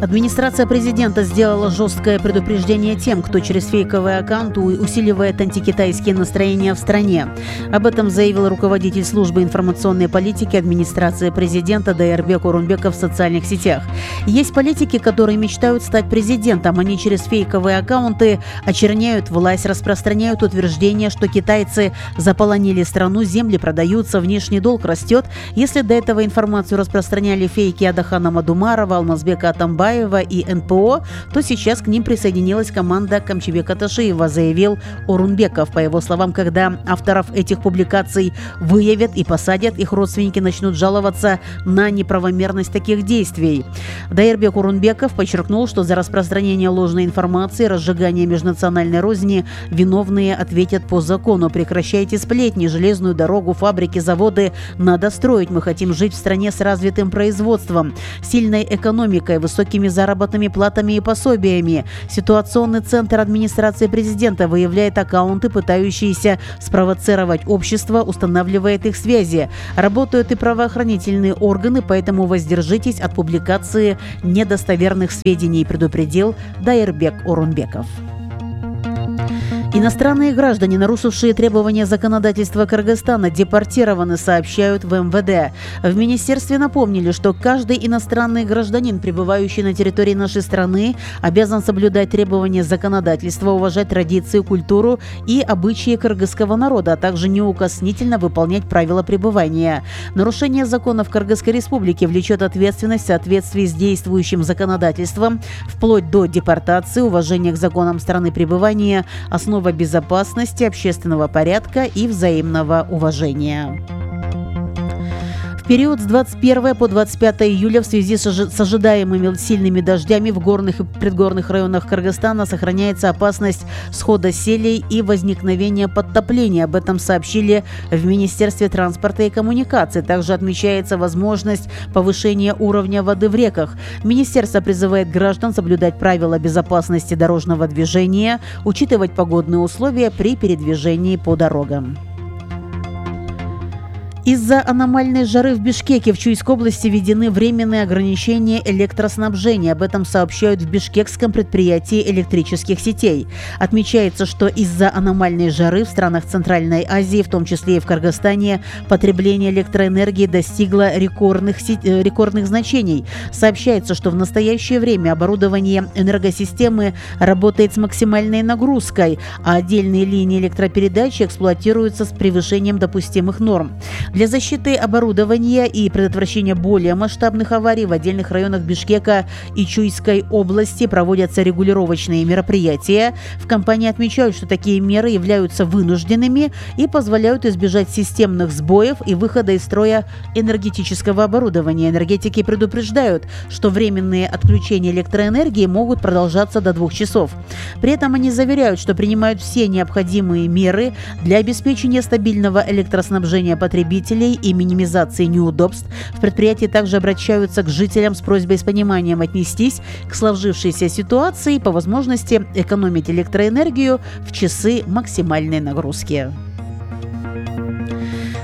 Администрация президента сделала жесткое предупреждение тем, кто через фейковые аккаунты усиливает антикитайские настроения в стране. Об этом заявил руководитель службы информационной политики администрации президента Дайырбек Орунбеков в социальных сетях. Есть политики, которые мечтают стать президентом. Они через фейковые аккаунты очерняют власть, распространяют утверждения, что китайцы заполонили страну, земли продаются, внешний долг растет. Если до этого информацию распространяли фейки Адахана Мадумарова, Алмазбека Атамбаева и НПО, то сейчас к ним присоединилась команда Камчибека Ташиева, заявил Орунбеков. По его словам, когда авторов этих публикаций выявят и посадят, их родственники начнут жаловаться на неправомерность таких действий. Дайырбек Орунбеков подчеркнул, что за распространение ложной информации, разжигание межнациональной розни виновные ответят по закону. Прекращайте сплетни, железную дорогу, фабрики, заводы надо строить. Мы хотим жить в стране с развитым производством, сильной экономикой, высокими заработными платами и пособиями. Ситуационный центр администрации президента выявляет аккаунты, пытающиеся спровоцировать общество, устанавливает их связи. Работают и правоохранительные органы, поэтому воздержитесь от публикации недостоверных сведений, предупредил Дайырбек Орунбеков. Иностранные граждане, нарушившие требования законодательства Кыргызстана, депортированы, сообщают в МВД. В министерстве напомнили, что каждый иностранный гражданин, пребывающий на территории нашей страны, обязан соблюдать требования законодательства, уважать традиции, культуру и обычаи кыргызского народа, а также неукоснительно выполнять правила пребывания. Нарушение законов Кыргызской республики влечет ответственность в соответствии с действующим законодательством, вплоть до депортации, уважения к законам страны пребывания, основа безопасности, общественного порядка и взаимного уважения. В период с 21 по 25 июля в связи с ожидаемыми сильными дождями в горных и предгорных районах Кыргызстана сохраняется опасность схода селей и возникновения подтопления. Об этом сообщили в Министерстве транспорта и коммуникаций. Также отмечается возможность повышения уровня воды в реках. Министерство призывает граждан соблюдать правила безопасности дорожного движения, учитывать погодные условия при передвижении по дорогам. Из-за аномальной жары в Бишкеке в Чуйской области введены временные ограничения электроснабжения. Об этом сообщают в бишкекском предприятии электрических сетей. Отмечается, что из-за аномальной жары в странах Центральной Азии, в том числе и в Кыргызстане, потребление электроэнергии достигло рекордных значений. Сообщается, что в настоящее время оборудование энергосистемы работает с максимальной нагрузкой, а отдельные линии электропередачи эксплуатируются с превышением допустимых норм. Для защиты оборудования и предотвращения более масштабных аварий в отдельных районах Бишкека и Чуйской области проводятся регулировочные мероприятия. В компании отмечают, что такие меры являются вынужденными и позволяют избежать системных сбоев и выхода из строя энергетического оборудования. Энергетики предупреждают, что временные отключения электроэнергии могут продолжаться до 2 часов. При этом они заверяют, что принимают все необходимые меры для обеспечения стабильного электроснабжения потребителей и минимизации неудобств. В предприятии также обращаются к жителям с просьбой с пониманием отнестись к сложившейся ситуации и по возможности экономить электроэнергию в часы максимальной нагрузки.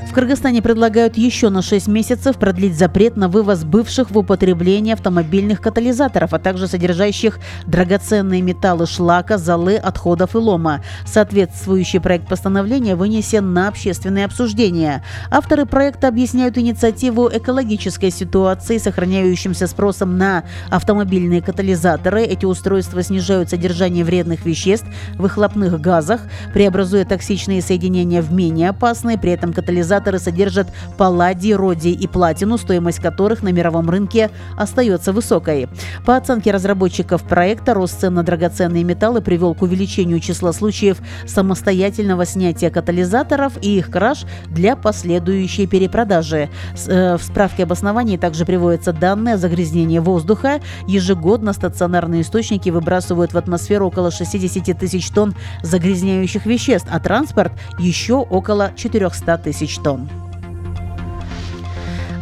В Кыргызстане предлагают еще на 6 месяцев продлить запрет на вывоз бывших в употребление автомобильных катализаторов, а также содержащих драгоценные металлы шлака, золы, отходов и лома. Соответствующий проект постановления вынесен на общественное обсуждение. Авторы проекта объясняют инициативу экологической ситуации, сохраняющимся спросом на автомобильные катализаторы. Эти устройства снижают содержание вредных веществ в выхлопных газах, преобразуя токсичные соединения в менее опасные. При этом катализаторы содержат палладий, родий и платину, стоимость которых на мировом рынке остается высокой. По оценке разработчиков проекта, рост цен на драгоценные металлы привел к увеличению числа случаев самостоятельного снятия катализаторов и их краж для последующей перепродажи. В справке об основании также приводятся данные о загрязнении воздуха. Ежегодно стационарные источники выбрасывают в атмосферу около 60 тысяч тонн загрязняющих веществ, а транспорт еще около 400 тысяч тонн.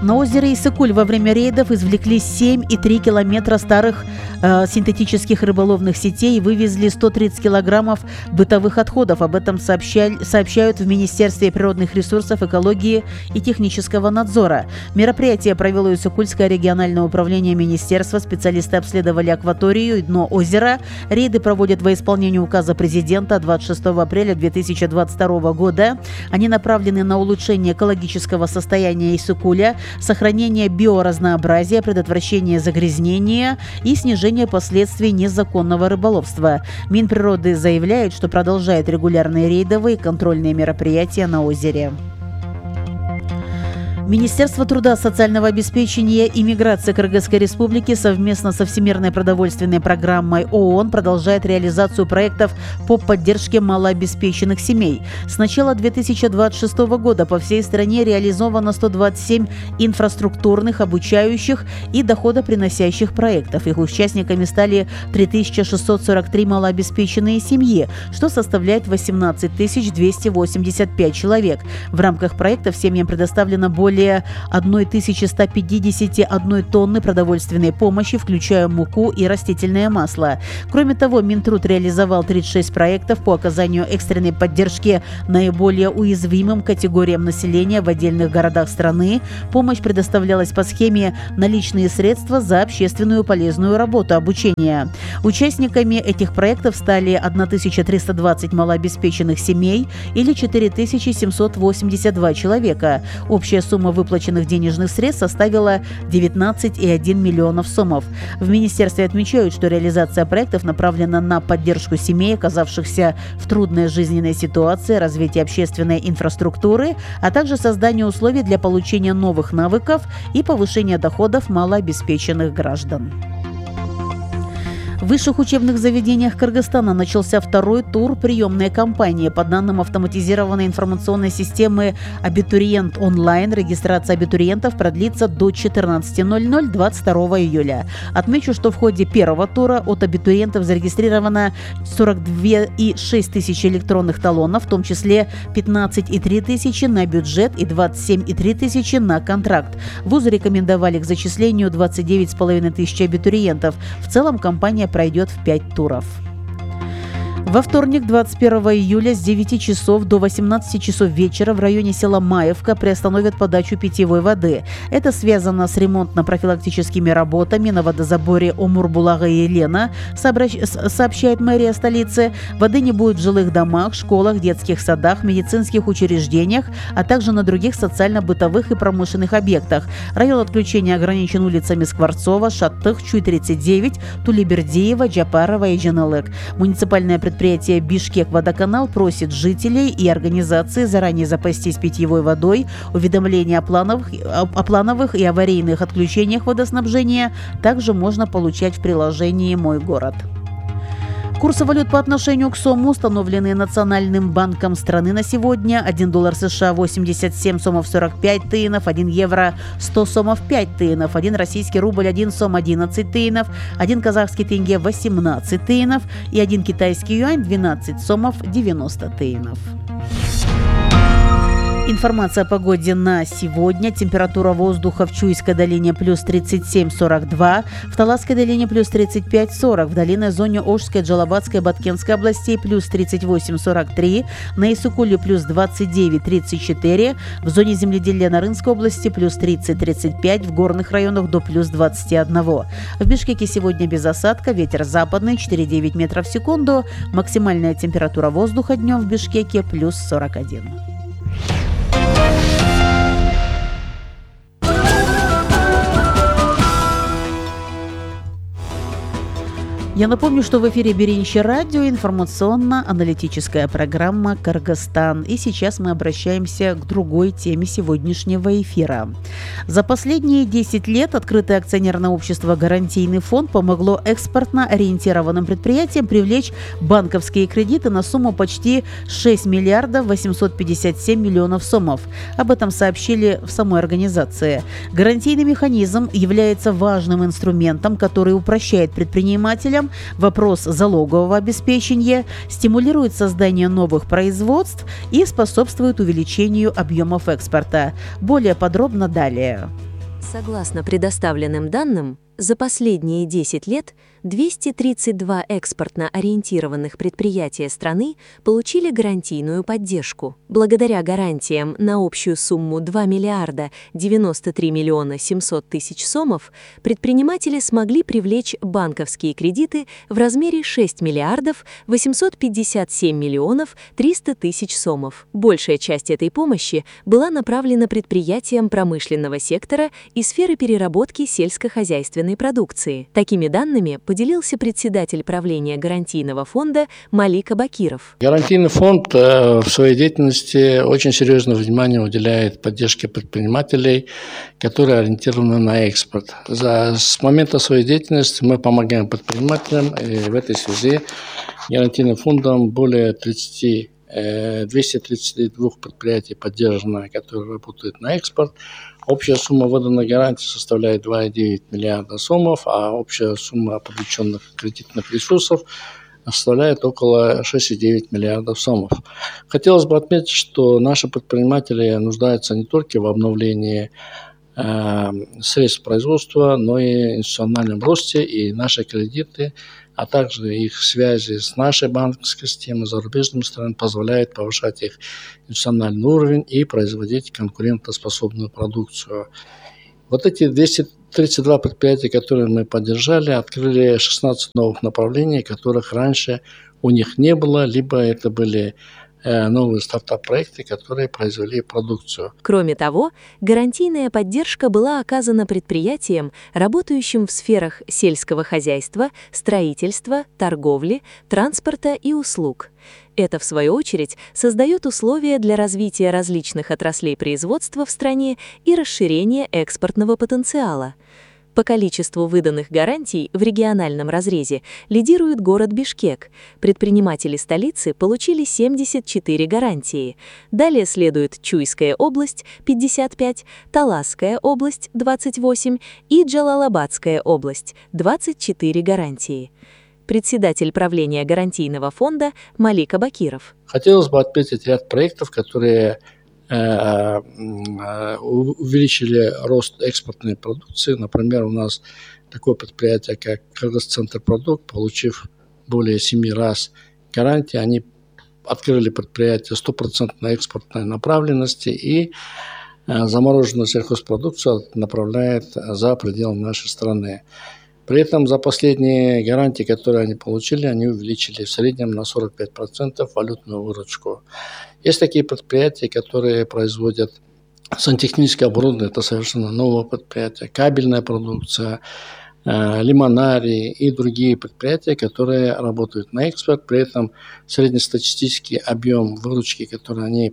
На озере Иссык-Куль во время рейдов извлекли 7,3 километра старых синтетических рыболовных сетей и вывезли 130 килограммов бытовых отходов. Об этом сообщают в Министерстве природных ресурсов, экологии и технического надзора. Мероприятие провело Иссык-Кульское региональное управление министерства. Специалисты обследовали акваторию и дно озера. Рейды проводят во исполнение указа президента 26 апреля 2022 года. Они направлены на улучшение экологического состояния Иссык-Куля, сохранение биоразнообразия, предотвращение загрязнения и снижение последствий незаконного рыболовства. Минприроды заявляет, что продолжает регулярные рейдовые и контрольные мероприятия на озере. Министерство труда, социального обеспечения и миграции Кыргызской Республики совместно со Всемирной продовольственной программой ООН продолжает реализацию проектов по поддержке малообеспеченных семей. С начала 2026 года по всей стране реализовано 127 инфраструктурных, обучающих и доходоприносящих проектов. Их участниками стали 3643 малообеспеченные семьи, что составляет 18 285 человек. В рамках проектов семьям предоставлено более 1151 тонны продовольственной помощи, включая муку и растительное масло. Кроме того, Минтруд реализовал 36 проектов по оказанию экстренной поддержки наиболее уязвимым категориям населения в отдельных городах страны. Помощь предоставлялась по схеме «Наличные средства за общественную полезную работу, обучение». Участниками этих проектов стали 1320 малообеспеченных семей или 4782 человека. Общая сумма выплаченных денежных средств составила 19,1 миллионов сомов. В министерстве отмечают, что реализация проектов направлена на поддержку семей, оказавшихся в трудной жизненной ситуации, развитие общественной инфраструктуры, а также создание условий для получения новых навыков и повышения доходов малообеспеченных граждан. В высших учебных заведениях Кыргызстана начался второй тур приемной кампании. По данным автоматизированной информационной системы «Абитуриент онлайн», регистрация абитуриентов продлится до 14:00 22 июля. Отмечу, что в ходе первого тура от абитуриентов зарегистрировано 42,6 тысячи электронных талонов, в том числе 15,3 тысячи на бюджет и 27,3 тысячи на контракт. Вузы рекомендовали к зачислению 29,5 тысячи абитуриентов. В целом кампания пройдет в 5 туров. Во вторник, 21 июля с 9 часов до 18 часов вечера в районе села Маевка приостановят подачу питьевой воды. Это связано с ремонтно-профилактическими работами на водозаборе Омур-Булага и Елена, сообщает мэрия столицы. Воды не будет в жилых домах, школах, детских садах, медицинских учреждениях, а также на других социально-бытовых и промышленных объектах. Район отключения ограничен улицами Скворцова, Шаттых, Чуй-39, Тулибердиева, Джапарова и Джаналык. Муниципальное предприятие «Бишкек-Водоканал» просит жителей и организации заранее запастись питьевой водой. Уведомления о плановых и аварийных отключениях водоснабжения также можно получать в приложении «Мой город». Курсы валют по отношению к сому, установленные Национальным банком страны на сегодня: 1 доллар США 87 сомов 45 тыинов, 1 евро 100 сомов 5 тыинов, 1 российский рубль 1 сом 11 тыинов, 1 казахский тенге 18 тыинов и 1 китайский юань 12 сомов 90 тыинов. Информация о погоде на сегодня. Температура воздуха в Чуйской долине плюс 37-42, в Таласской долине плюс 35-40, в долинной зоне Ошской, Джалабатской, Баткенской областей плюс 38-43, на Иссык-Куле плюс 29-34, в зоне земледелия Нарынской области плюс 30-35, в горных районах до плюс 21. В Бишкеке сегодня без осадка, ветер западный 4,9 метров в секунду, максимальная температура воздуха днем в Бишкеке плюс 41. Я напомню, что в эфире Беринче радио, информационно-аналитическая программа «Кыргызстан». И сейчас мы обращаемся к другой теме сегодняшнего эфира. За последние 10 лет открытое акционерное общество «Гарантийный фонд» помогло экспортно-ориентированным предприятиям привлечь банковские кредиты на сумму почти 6 миллиардов 857 миллионов сомов. Об этом сообщили в самой организации. Гарантийный механизм является важным инструментом, который упрощает предпринимателям вопрос залогового обеспечения, стимулирует создание новых производств и способствует увеличению объемов экспорта. Более подробно далее. Согласно предоставленным данным, за последние 10 лет 232 экспортно-ориентированных предприятия страны получили гарантийную поддержку. Благодаря гарантиям на общую сумму 2 миллиарда 93 миллиона 700 тысяч сомов предприниматели смогли привлечь банковские кредиты в размере 6 миллиардов 857 миллионов 300 тысяч сомов. Большая часть этой помощи была направлена предприятиям промышленного сектора и сферы переработки сельскохозяйственной продукции. Такими данными поделился председатель правления гарантийного фонда Малик Абакиров. Гарантийный фонд в своей деятельности очень серьезное внимание уделяет поддержке предпринимателей, которые ориентированы на экспорт. С момента своей деятельности мы помогаем предпринимателям, и в этой связи гарантийным фондом более 232 предприятий поддержано, которые работают на экспорт. Общая сумма выданной гарантии составляет 2,9 миллиарда сомов, а общая сумма привлеченных кредитных ресурсов составляет около 6,9 миллиардов сомов. Хотелось бы отметить, что наши предприниматели нуждаются не только в обновлении средств производства, но и институциональном росте, и наши кредиты, а также их связи с нашей банковской системой, зарубежными странами позволяют повышать их институциональный уровень и производить конкурентоспособную продукцию. Вот эти 232 предприятия, которые мы поддержали, открыли 16 новых направлений, которых раньше у них не было, либо это были новые стартап-проекты, которые произвели продукцию. Кроме того, гарантийная поддержка была оказана предприятиям, работающим в сферах сельского хозяйства, строительства, торговли, транспорта и услуг. Это, в свою очередь, создает условия для развития различных отраслей производства в стране и расширения экспортного потенциала. По количеству выданных гарантий в региональном разрезе лидирует город Бишкек. Предприниматели столицы получили 74 гарантии. Далее следует Чуйская область – 55, Таласская область – 28 и Джалалабадская область – 24 гарантии. Председатель правления гарантийного фонда Малик Абакиров. Хотелось бы отметить ряд проектов, которые увеличили рост экспортной продукции. Например, у нас такое предприятие, как Кыргызцентрпродукт, получив более 7 раз гарантии, они открыли предприятие 100% экспортной направленности и замороженную сельхозпродукцию направляет за пределы нашей страны. При этом за последние гарантии, которые они получили, они увеличили в среднем на 45% валютную выручку. Есть такие предприятия, которые производят сантехническое оборудование, это совершенно новое предприятие, кабельная продукция, лимонарии и другие предприятия, которые работают на экспорт. При этом среднестатистический объем выручки, который они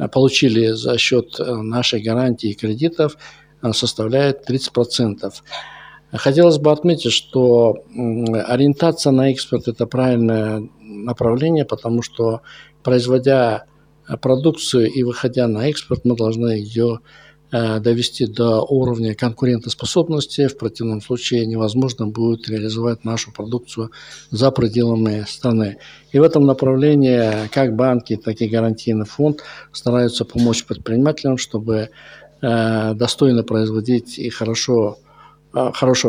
получили за счет нашей гарантии и кредитов, составляет 30%. Хотелось бы отметить, что ориентация на экспорт – это правильное направление, потому что, производя продукцию и выходя на экспорт, мы должны ее довести до уровня конкурентоспособности. В противном случае невозможно будет реализовать нашу продукцию за пределами страны. И в этом направлении как банки, так и гарантийный фонд стараются помочь предпринимателям, чтобы достойно производить и хорошего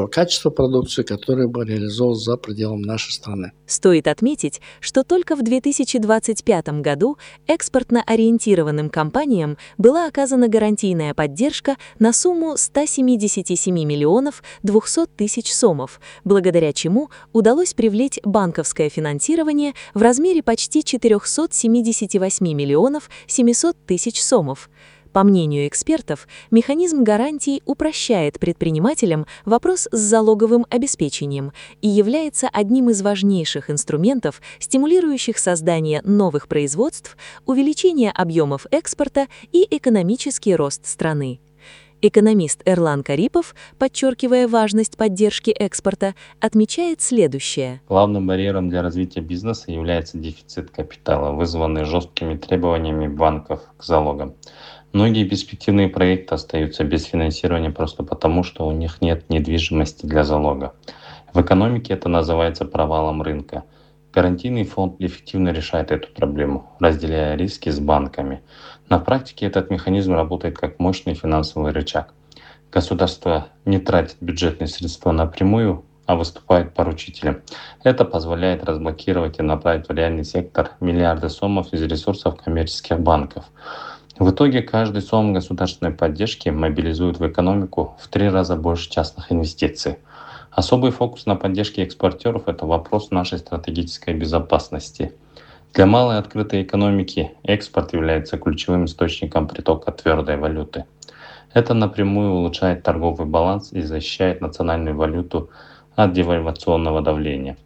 качества продукции, которая бы реализовалась за пределами нашей страны. Стоит отметить, что только в 2025 году экспортно-ориентированным компаниям была оказана гарантийная поддержка на сумму 177 миллионов 200 тысяч сомов, благодаря чему удалось привлечь банковское финансирование в размере почти 478 миллионов 700 тысяч сомов. По мнению экспертов, механизм гарантий упрощает предпринимателям вопрос с залоговым обеспечением и является одним из важнейших инструментов, стимулирующих создание новых производств, увеличение объемов экспорта и экономический рост страны. Экономист Эрлан Карипов, подчеркивая важность поддержки экспорта, отмечает следующее. Главным барьером для развития бизнеса является дефицит капитала, вызванный жесткими требованиями банков к залогам. Многие перспективные проекты остаются без финансирования просто потому, что у них нет недвижимости для залога. В экономике это называется провалом рынка. Гарантийный фонд эффективно решает эту проблему, разделяя риски с банками. На практике этот механизм работает как мощный финансовый рычаг. Государство не тратит бюджетные средства напрямую, а выступает поручителем. Это позволяет разблокировать и направить в реальный сектор миллиарды сомов из ресурсов коммерческих банков. В итоге каждый сом государственной поддержки мобилизует в экономику в 3 раза больше частных инвестиций. Особый фокус на поддержке экспортеров – это вопрос нашей стратегической безопасности. Для малой открытой экономики экспорт является ключевым источником притока твердой валюты. Это напрямую улучшает торговый баланс и защищает национальную валюту от девальвационного давления.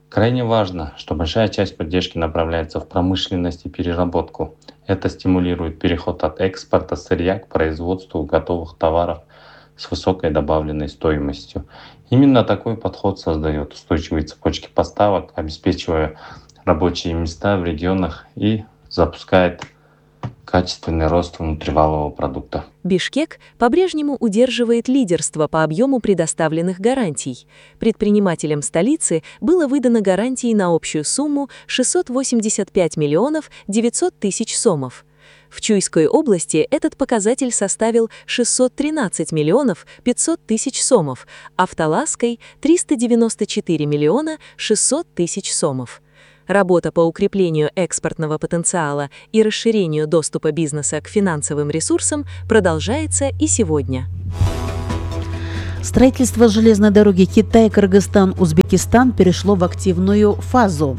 Крайне важно, что большая часть поддержки направляется в промышленность и переработку. Это стимулирует переход от экспорта сырья к производству готовых товаров с высокой добавленной стоимостью. Именно такой подход создает устойчивые цепочки поставок, обеспечивая рабочие места в регионах и запускает качественный рост внутривалового продукта. Бишкек по-прежнему удерживает лидерство по объему предоставленных гарантий. Предпринимателям столицы было выдано гарантии на общую сумму 685 миллионов 900 тысяч сомов. В Чуйской области этот показатель составил 613 миллионов 500 тысяч сомов, а в Таласской – 394 миллиона 600 тысяч сомов. Работа по укреплению экспортного потенциала и расширению доступа бизнеса к финансовым ресурсам продолжается и сегодня. Строительство железной дороги Китай-Кыргызстан-Узбекистан перешло в активную фазу.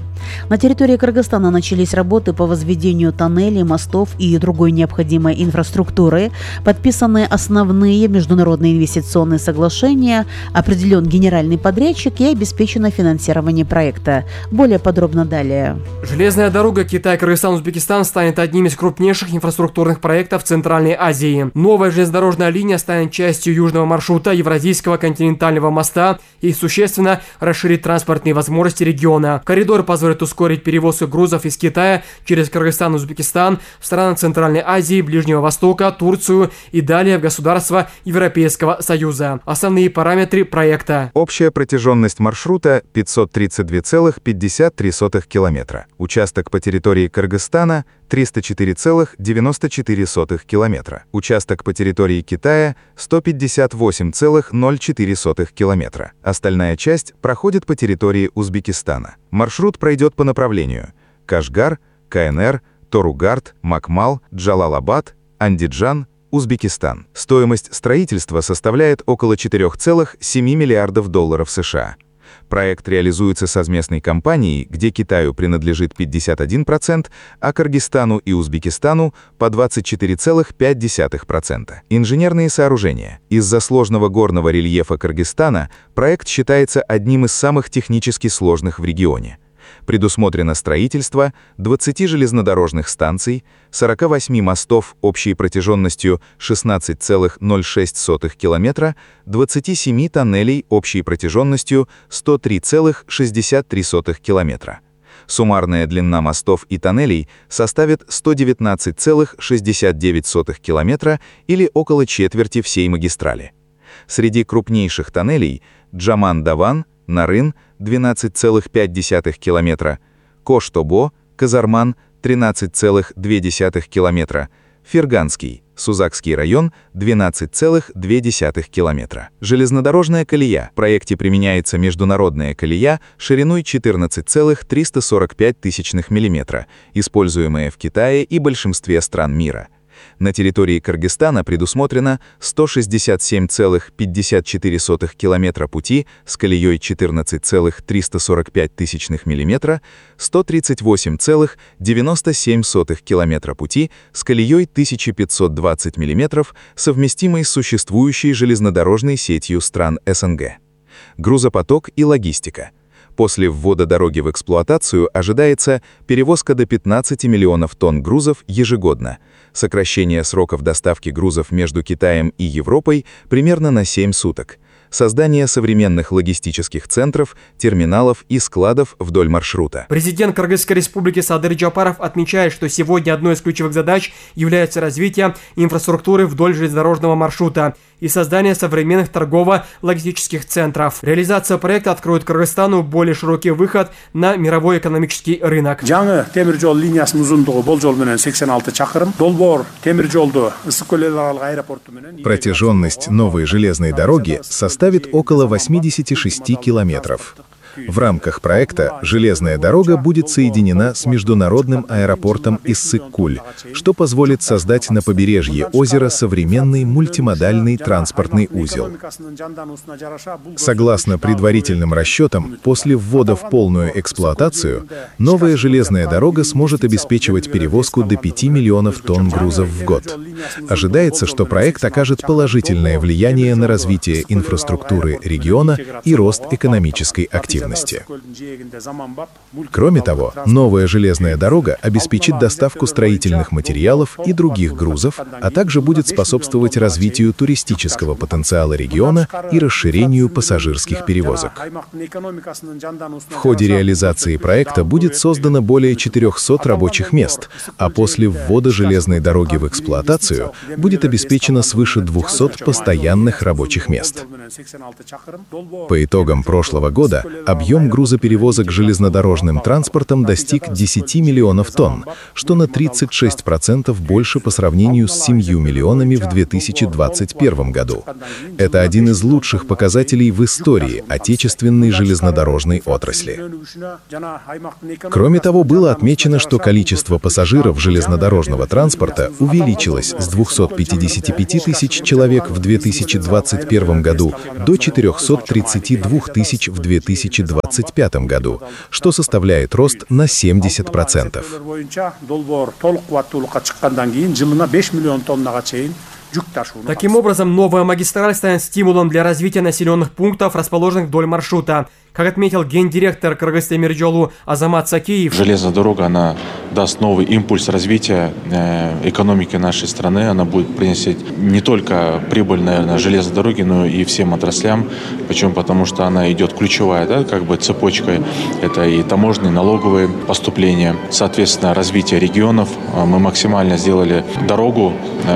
На территории Кыргызстана начались работы по возведению тоннелей, мостов и другой необходимой инфраструктуры. Подписаны основные международные инвестиционные соглашения, определен генеральный подрядчик и обеспечено финансирование проекта. Более подробно далее. Железная дорога Китай-Кыргызстан-Узбекистан станет одним из крупнейших инфраструктурных проектов Центральной Азии. Новая железнодорожная линия станет частью южного маршрута Евразийского континентального моста и существенно расширит транспортные возможности региона. Коридор позволит ускорить перевозку грузов из Китая через Кыргызстан и Узбекистан в страны Центральной Азии, Ближнего Востока, Турцию и далее в государства Европейского Союза. Основные параметры проекта. Общая протяженность маршрута 532,53 километра. Участок по территории Кыргызстана 304,94 километра. Участок по территории Китая 158,04 километра. Остальная часть проходит по территории Узбекистана. Маршрут пройдет по направлению Кашгар, КНР, Торугард, Макмал, Джалалабад, Андиджан, Узбекистан. Стоимость строительства составляет около 4,7 миллиардов долларов США. Проект реализуется совместной компанией, где Китаю принадлежит 51%, а Кыргызстану и Узбекистану по 24,5%. Инженерные сооружения. Из-за сложного горного рельефа Кыргызстана проект считается одним из самых технически сложных в регионе. Предусмотрено строительство 20 железнодорожных станций, 48 мостов общей протяженностью 16,06 километра, 27 тоннелей общей протяженностью 103,63 километра. Суммарная длина мостов и тоннелей составит 119,69 километра или около четверти всей магистрали. Среди крупнейших тоннелей Джаман-Даван, Нарын 12,5 километра, Кош-Тобо, Казарман 13,2 километра, Ферганский, Сузакский район 12,2 километра. Железнодорожная колея. В проекте применяется международная колея шириной 14,345 мм, используемая в Китае и большинстве стран мира. На территории Кыргызстана предусмотрено 167,54 километра пути с колеей 14,345 мм, 138,97 километра пути с колеей 1520 мм, совместимой с существующей железнодорожной сетью стран СНГ. Грузопоток и логистика. После ввода дороги в эксплуатацию ожидается перевозка до 15 миллионов тонн грузов ежегодно, сокращение сроков доставки грузов между Китаем и Европой примерно на 7 суток, создание современных логистических центров, терминалов и складов вдоль маршрута. Президент Кыргызской республики Садыр Джапаров отмечает, что сегодня одной из ключевых задач является развитие инфраструктуры вдоль железнодорожного маршрута и создание современных торгово-логистических центров. Реализация проекта откроет Кыргызстану более широкий выход на мировой экономический рынок. Жаңы темир жол линиясынын узундугу болжол менен 86 чакырым. Долбоор темир жолду Ысык-Көл эл аралык аэропорту менен. Протяженность новой железной дороги составит около 86 километров. В рамках проекта железная дорога будет соединена с международным аэропортом Issik-Kul, что позволит создать на побережье озера современный мультимодальный транспортный узел. Согласно предварительным расчетам, после ввода в полную эксплуатацию, новая железная дорога сможет обеспечивать перевозку до 5 миллионов тонн грузов в год. Ожидается, что проект окажет положительное влияние на развитие инфраструктуры региона и рост экономической активности. Кроме того, новая железная дорога обеспечит доставку строительных материалов и других грузов, а также будет способствовать развитию туристического потенциала региона и расширению пассажирских перевозок. В ходе реализации проекта будет создано более 400 рабочих мест, а после ввода железной дороги в эксплуатацию будет обеспечено свыше 200 постоянных рабочих мест. По итогам прошлого года объем грузоперевозок железнодорожным транспортом достиг 10 миллионов тонн, что на 36% больше по сравнению с 7 миллионами в 2021 году. Это один из лучших показателей в истории отечественной железнодорожной отрасли. Кроме того, было отмечено, что количество пассажиров железнодорожного транспорта увеличилось с 255 тысяч человек в 2021 году до 432 тысяч в 2025 году, что составляет рост на 70%. Таким образом, новая магистраль станет стимулом для развития населенных пунктов, расположенных вдоль маршрута. Как отметил гендиректор Кыргыз-Темиржолу Азамат Сакеев, железная дорога, она даст новый импульс развития экономики нашей страны. Она будет приносить не только прибыль, наверное, железной дороги, но и всем отраслям. Почему? Потому что она идет ключевая, да, как бы цепочкой. Это и таможенные, налоговые поступления. Соответственно, развитие регионов. Мы максимально сделали дорогу,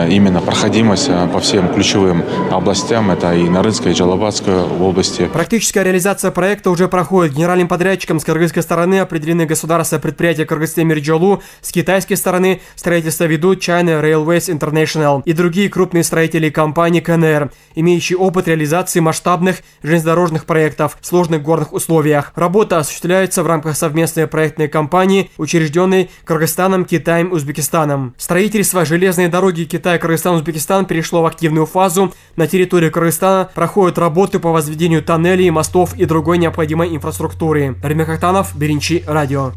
именно проходимость по всем ключевым областям. Это и Нарынская, и Джалабадская области. Практическая реализация проекта уже проходит. Генеральным подрядчиком с кыргызской стороны определены государственное предприятие Кыргыз-Темиржолу, с китайской стороны строительство ведут China Railways International и другие крупные строители компании КНР, имеющие опыт реализации масштабных железнодорожных проектов в сложных горных условиях. Работа осуществляется в рамках совместной проектной компании, учрежденной Кыргызстаном, Китаем и Узбекистаном. Строительство железной дороги Китай, Кыргызстан, Узбекистан перешло в активную фазу. На территории Кыргызстана проходят работы по возведению тоннелей, мостов и другой необходимой инфраструктуры. Ремик Актанов, Беринчи, радио.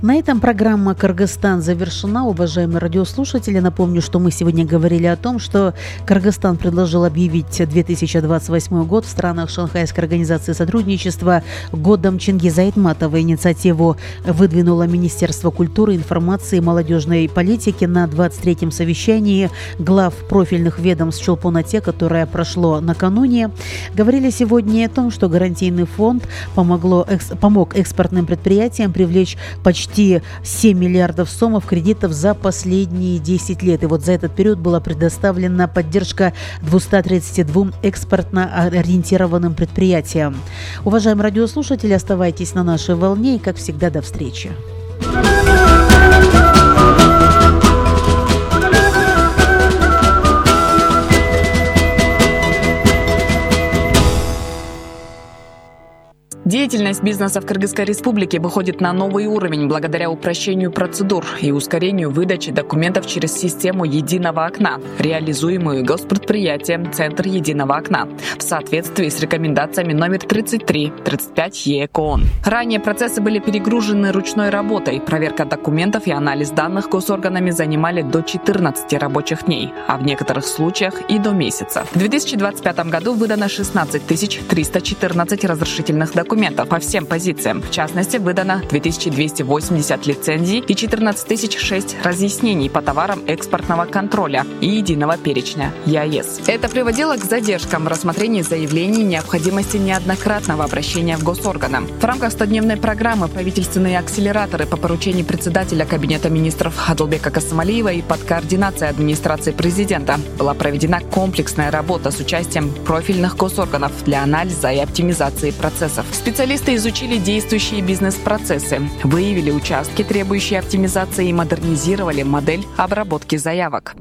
На этом программа «Кыргызстан» завершена. Уважаемые радиослушатели, напомню, что мы сегодня говорили о том, что Кыргызстан предложил объявить 2028 год в странах Шанхайской организации сотрудничества годом Чингиза Айтматова. Инициативу выдвинуло Министерство культуры, информации и молодежной политики на 23-м совещании глав профильных ведомств Чолпон-Ате, которое прошло накануне. Говорили сегодня о том, что гарантийный фонд помог экспортным предприятиям привлечь почти 7 миллиардов сомов кредитов за последние 10 лет. И вот за этот период была предоставлена поддержка 232 экспортно ориентированным предприятиям. Уважаемые радиослушатели, оставайтесь на нашей волне и, как всегда, до встречи. Деятельность бизнеса в Кыргызской республике выходит на новый уровень благодаря упрощению процедур и ускорению выдачи документов через систему «Единого окна», реализуемую госпредприятием «Центр Единого окна» в соответствии с рекомендациями номер 33/35 ЕЭК ООН. Ранее процессы были перегружены ручной работой. Проверка документов и анализ данных госорганами занимали до 14 рабочих дней, а в некоторых случаях и до месяца. В 2025 году выдано 16 314 разрешительных документов, документов по всем позициям. В частности, выдано 2280 лицензий и 14006 разъяснений по товарам экспортного контроля и единого перечня ЕАЭС. Это приводило к задержкам в рассмотрении заявлений необходимости неоднократного обращения в госорганы. В рамках 100-дневной программы правительственные акселераторы по поручению председателя Кабинета министров Адылбека Касымалиева и под координацией администрации президента была проведена комплексная работа с участием профильных госорганов для анализа и оптимизации процессов. Специалисты изучили действующие бизнес-процессы, выявили участки, требующие оптимизации, и модернизировали модель обработки заявок.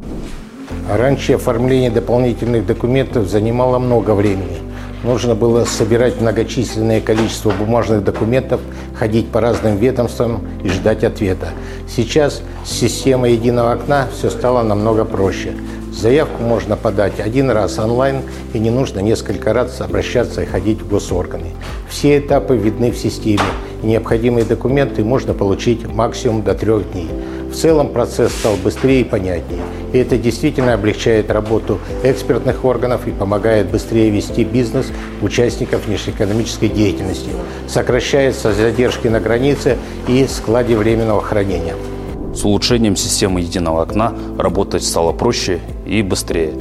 Раньше оформление дополнительных документов занимало много времени. Нужно было собирать многочисленное количество бумажных документов, ходить по разным ведомствам и ждать ответа. Сейчас с системой единого окна все стало намного проще. Заявку можно подать один раз онлайн, и не нужно несколько раз обращаться и ходить в госорганы. Все этапы видны в системе, и необходимые документы можно получить максимум до 3 дней. В целом процесс стал быстрее и понятнее. И это действительно облегчает работу экспертных органов и помогает быстрее вести бизнес участников внешнеэкономической деятельности. Сокращаются задержки на границе и складе временного хранения. С улучшением системы единого окна работать стало проще и быстрее.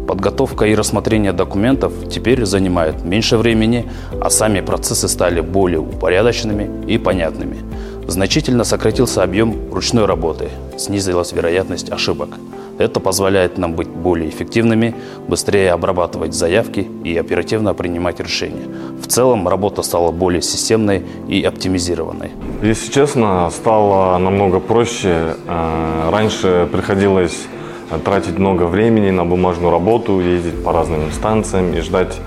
Подготовка и рассмотрение документов теперь занимает меньше времени, а сами процессы стали более упорядоченными и понятными. Значительно сократился объем ручной работы, снизилась вероятность ошибок. Это позволяет нам быть более эффективными, быстрее обрабатывать заявки и оперативно принимать решения. В целом работа стала более системной и оптимизированной. Если честно, стало намного проще. Раньше приходилось тратить много времени на бумажную работу, ездить по разным инстанциям и ждать,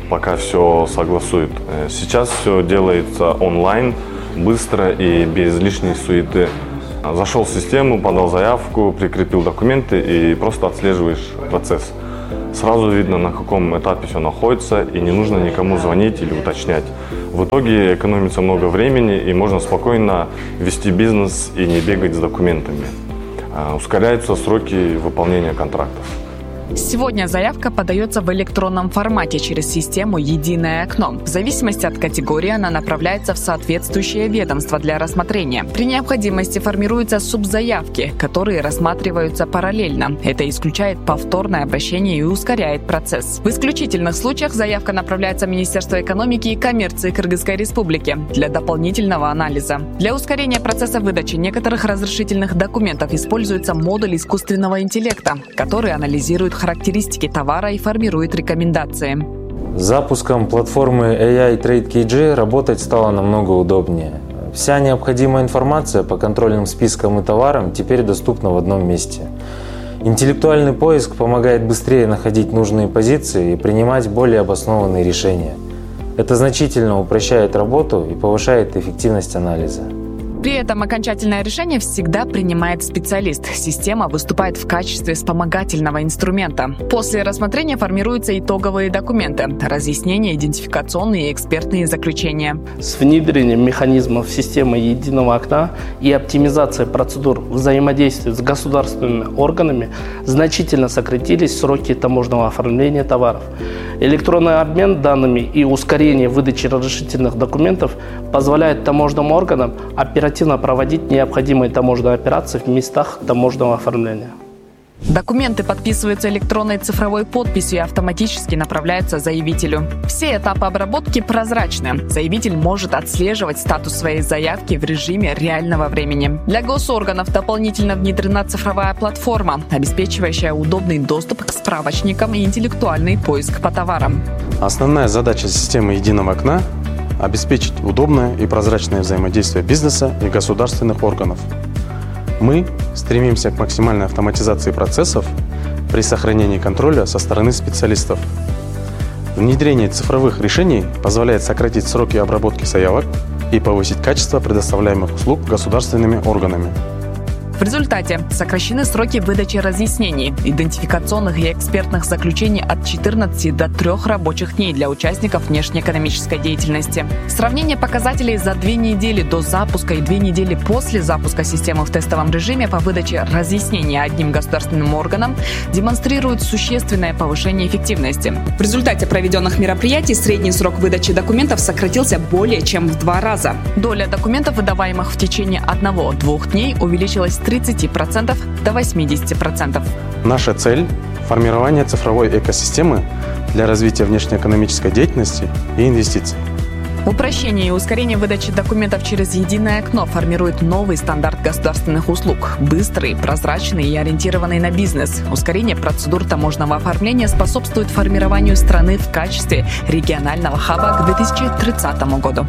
пока все согласуют. Сейчас все делается онлайн, быстро и без лишней суеты. Зашел в систему, подал заявку, прикрепил документы и просто отслеживаешь процесс. Сразу видно, на каком этапе все находится, и не нужно никому звонить или уточнять. В итоге экономится много времени, и можно спокойно вести бизнес и не бегать с документами. Ускоряются сроки выполнения контрактов. Сегодня заявка подается в электронном формате через систему «Единое окно». В зависимости от категории она направляется в соответствующее ведомство для рассмотрения. При необходимости формируются субзаявки, которые рассматриваются параллельно. Это исключает повторное обращение и ускоряет процесс. В исключительных случаях заявка направляется в Министерство экономики и коммерции Кыргызской Республики для дополнительного анализа. Для ускорения процесса выдачи некоторых разрешительных документов используется модуль искусственного интеллекта, который анализирует характеристики товара и формирует рекомендации. С запуском платформы AI Trade KG работать стало намного удобнее. Вся необходимая информация по контрольным спискам и товарам теперь доступна в одном месте. Интеллектуальный поиск помогает быстрее находить нужные позиции и принимать более обоснованные решения. Это значительно упрощает работу и повышает эффективность анализа. При этом окончательное решение всегда принимает специалист. Система выступает в качестве вспомогательного инструмента. После рассмотрения формируются итоговые документы, разъяснения, идентификационные и экспертные заключения. С внедрением механизмов системы единого окна и оптимизацией процедур взаимодействия с государственными органами значительно сократились сроки таможенного оформления товаров. Электронный обмен данными и ускорение выдачи разрешительных документов позволяет таможенным органам оперативно проводить необходимые таможенные операции в местах таможенного оформления. Документы подписываются электронной цифровой подписью и автоматически направляются заявителю. Все этапы обработки прозрачны. Заявитель может отслеживать статус своей заявки в режиме реального времени. Для госорганов дополнительно внедрена цифровая платформа, обеспечивающая удобный доступ к справочникам и интеллектуальный поиск по товарам. Основная задача системы единого окна – обеспечить удобное и прозрачное взаимодействие бизнеса и государственных органов. Мы стремимся к максимальной автоматизации процессов при сохранении контроля со стороны специалистов. Внедрение цифровых решений позволяет сократить сроки обработки заявок и повысить качество предоставляемых услуг государственными органами. В результате сокращены сроки выдачи разъяснений, идентификационных и экспертных заключений от 14 до 3 рабочих дней для участников внешнеэкономической деятельности. Сравнение показателей за 2 недели до запуска и 2 недели после запуска системы в тестовом режиме по выдаче разъяснений одним государственным органам демонстрирует существенное повышение эффективности. В результате проведенных мероприятий средний срок выдачи документов сократился более чем в 2 раза. Доля документов, выдаваемых в течение 1-2 дней, увеличилась с 30% до 80%. Наша цель – формирование цифровой экосистемы для развития внешнеэкономической деятельности и инвестиций. Упрощение и ускорение выдачи документов через единое окно формирует новый стандарт государственных услуг. Быстрый, прозрачный и ориентированный на бизнес. Ускорение процедур таможенного оформления способствует формированию страны в качестве регионального хаба к 2030 году.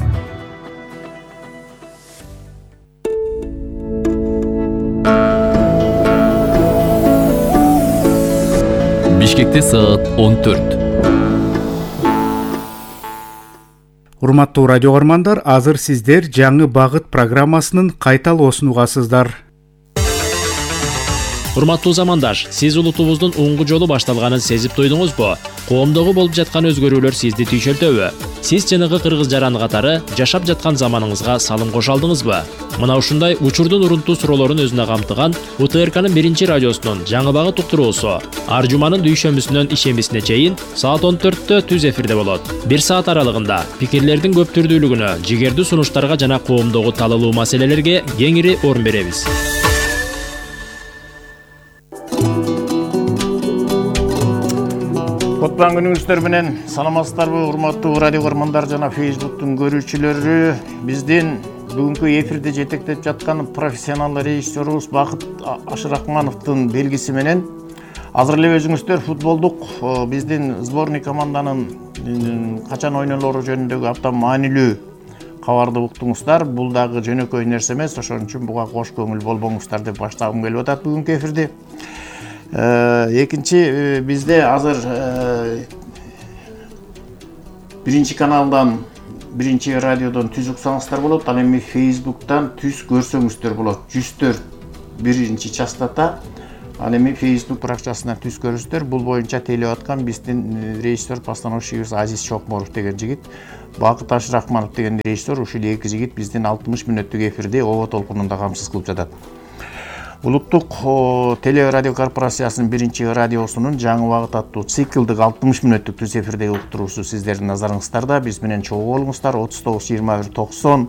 Бишкекте саат 14. Урматтуу радио көрөрмандар, азыр сиздер жаңы багыт программасынын кайталоосун угасыздар. Урматтуу замандаш, сиз улутубуздун оңгу жолу башталганын сезип туйдуңузбу? Коомдогу болуп жаткан өзгөрүүлөр сизди түйшөлтөбү? Сиз жанагы кыргыз жараны катары жашап жаткан заманыңызга салым кошо алдыңызбы? Мына ушундай учурдун урунтуу суроолорун өзүнө камтыган УТРКнын 1-радиосунун жаңы багыт уктуруусу ар жуманын дүйшөмбүсүнөн ишембисине чейин саат 14-тө түз эфирде болот. 1 саат аралыгында пикирлердин көп түрдүүлүгүнө, жигердүү сунуштарга жана коомдогу талалуу маселелерге кеңири орун беребиз. Кутман күнүңүздөр менен саламатсыздарбы, урматтуу радио көрөрмандар жана Facebooktун көрүүчүлөрү. Биздин бүгүнкү эфирде жетектеп жаткан профессионал режиссерубуз Бакыт Ашыракмановдун белгиси менен азыр эле өзүңүздөр футболдук биздин сборный команданын качан ойнолору жөнүндөгү абдан маанилүү кабарды уктуңуздар. Бул дагы жөнөкөй нерсе эмес, ошон үчүн буга кош көңүл болбоңуздар деп баштагым келип атат бүгүнкү эфирди. Экинчи бизде азыр 1 каналдан 1 радиодон түз уксаңыздар болот, ал эми Facebooktан түз көрсөңүздөр болот. 104 1 частота, ал эми Facebook баракчасынан түз көрүңүздөр. Бул боюнча тейлеп аткан биздин режиссер постановщигибиз Азиз Чокморов деген жигит, Бакыт Ашыракманов деген режиссер, ушул эки жигит биздин 60 мүнөттүк эфирди ООО толкунунда камсыз кылып жатат. Улуттук телерадио корпорациясынын 1 радиосунун жаңы багыт аттуу циклдык 60 мүнөттүк түз эфирдеги уктуруусу сиздердин назарыңыздарда. Биз менен чогуу болуңуздар. 39 21 90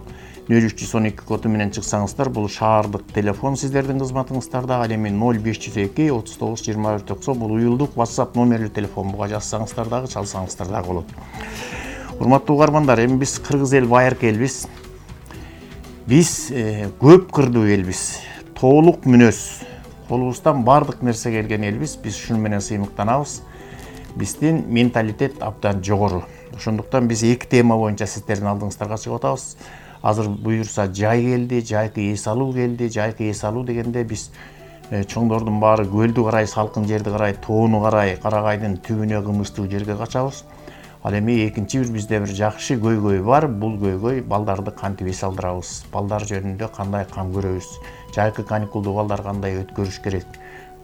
0312 коду менен чыксаңыздар, бул шаардык телефон сиздердин кызматыңыздарда. Ал эми 0502 39 21 90 бул уюлдук WhatsApp номерлүү телефон. Буга жазсаңыздар дагы, чалсаңыздар дагы болот. Урматтуу угармандар, эми биз кыргыз эл байыркы элбиз. Биз көп кырдуу элбиз. Толук мүнөз, колубуздан бардык нерсе келген элбиз. Биз ушун менен сыймыктанабыз. Биздин менталитет абдан жогору. Ошондуктан биз эки тема боюнча сиздердин алдыңыздарга чыгып атабыз. Азыр буюрса жай келди, жайкы эс алуу келди. Жайкы эс алуу дегенде биз чоңдордун баары көлдү карай, салкын жерди карай, тоону карай, Карагайдын түбүнө кымычтуу жерге качабыз. Ал эми экинчи бизде бир жакшы көйгөй бар. Бул көйгөй балдарды кантип эс алдырабыз, балдар жөнүндө кандай кам көрөбүз, жайкы каникулду балдар кандай өткөрүш керек,